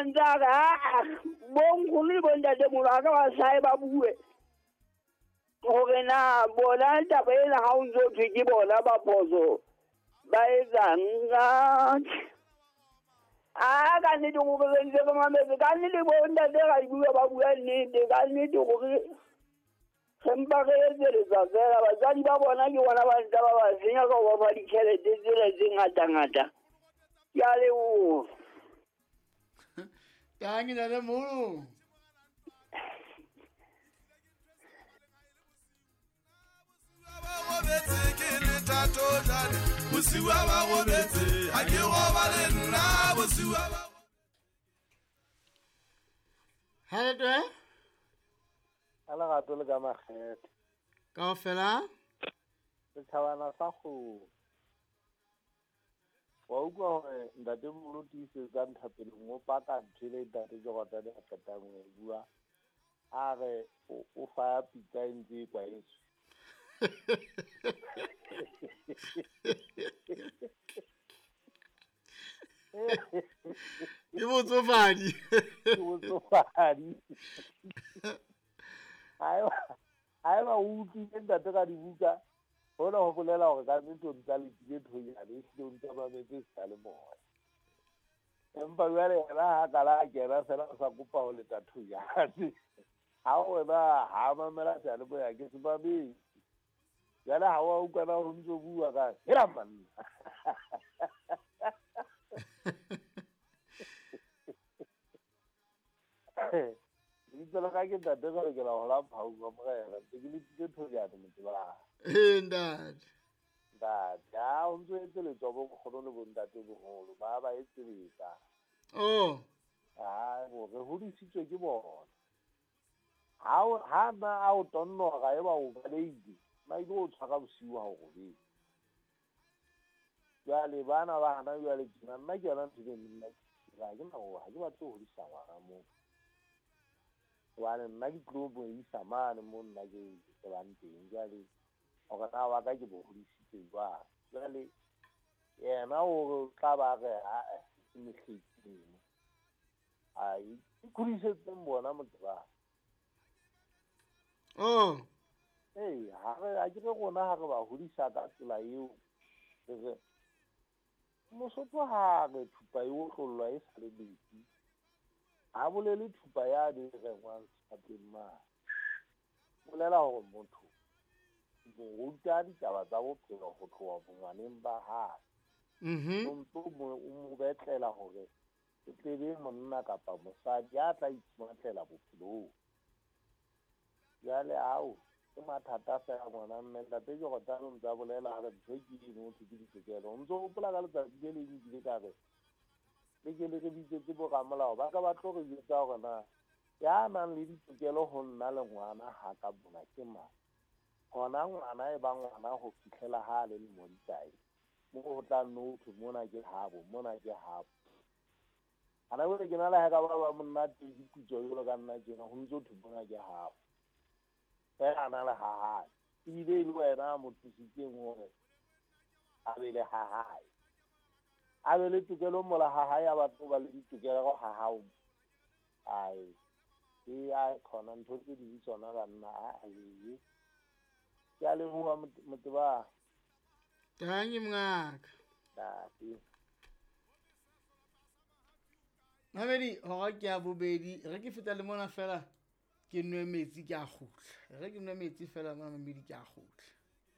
ntse a re aa bonkgono le bontatemoholo a ka ba sae ba bue hore na bona taba ena ha o ntse o thwe ke bona ba phoso ba etsang. A ka nnete gore re ntse re mametse, ka nnete bontate ra di bua ba bua nnete, ka nnete gore re mpa re etseletsa fela. Batswadi ba bona ke bona ba ntse ba ba senya ka ho ba fa ditjhelete tsena tse ngata-ngata. Ke a leboha. Tangi ntatemoholo. Hello. Ka lerato le ka makgethe. Kaofela? Setjhabana sa kgomo. Wa utlwa hore ntatemoholo tiisetsang thapelong o paka ntho ele ntate Jordan a qetang ho e bua. A re o faya pitsa e ntse e kwahetswe. Ke botsofadi. Ke botsofadi. Haeba o utlwile ntate ka dibuka, hona ho bolela hore ka nnete o ntse a letile thonyane, ehlile o ntse a mametse seyalemoya. Empa jwale yena ha kala a kena fela o sa kopa ho leta thonyane. Ha wena ha mamela seyalemoya ke se mametse. Jwale ha wa utlwa na ho ntso bua ka hela manna. Lebitso la ka ke ntate ka lokela ho la Phau wa Morena, ntse ke letile thonyane motse. Ee ntate. Ntate, ha o ntso etseletswa bo nkgono le bo ntate boholo, ba ba etseletsa. Oh. Ha bo re hodisitswe ke bona. Ha na a o tonnora e ba o baleile, ba ile o tshwara bosiu ha o robetse. Jwale bana ba hana jwale tjena, nna ke yona ntho e nna ke ha ke na ha ke batle ho hodisa ngwana moo. Hobane nna ke tlo mo isa mane mo nna ke tsebang teng. Jwale hore na wa ka ke bo hodisitse jwang. Jwale yena o tla ba re ha ke mehleng. Ai, ke kgodisetseng bona motho ba. Oh. Ee, ha re a ke re rona ha re ba hodisa ka tsela eo. Re Mosotho ha re thupa e otlollwa e sa le metsi. Ha bolele thupa ya di rengwang sefateng mane. Bolela hore motho mo ruta ditaba tsa bophelo ho tloha bongwaneng ba hae. O ntso o mo betlela hore e tlebe monna kapa mosadi ya tla itsmatlela bophelong. Jwale ao ke mathata fela ngwana mme ntate Jordan o ntse a bolela hore ntho ke eno ho thwe ke ditokelo. O ntso hopola ka letsatsi le leng ke ile ka re le ke le re bitsetse boramolao ba ka ba tlo re jwetsa hore na ya nang le ditokelo ho nna le ngwana ha ka mona ke mang. Hona ngwana e ba ngwana ho fihlela ha le lemo di kae. Mo ho tla nno thwe mona ke habo, mona ke habo. Ana jwale ke na le ha ka ba ba monna teng diputso jwalo ka nna tjena ho ntso thwe mona ke habo. Fela a na le ha hae. Ebile e le wena a mo thusitseng hore a be le ha hae. A be le tokelo mola ha hae, a batla ho ba le ditokelo ha hao. Ai, e a khona ntho tse ding tsona banna a e. Ke a leboha moteba. Tangi mongaka. Ntate. Mamedi, hora ke ya bobedi, re ke feta le mona fela ke nwe metsi ke a kgutla. Re ke nwe metsi fela mona mamedi ke a kgutla.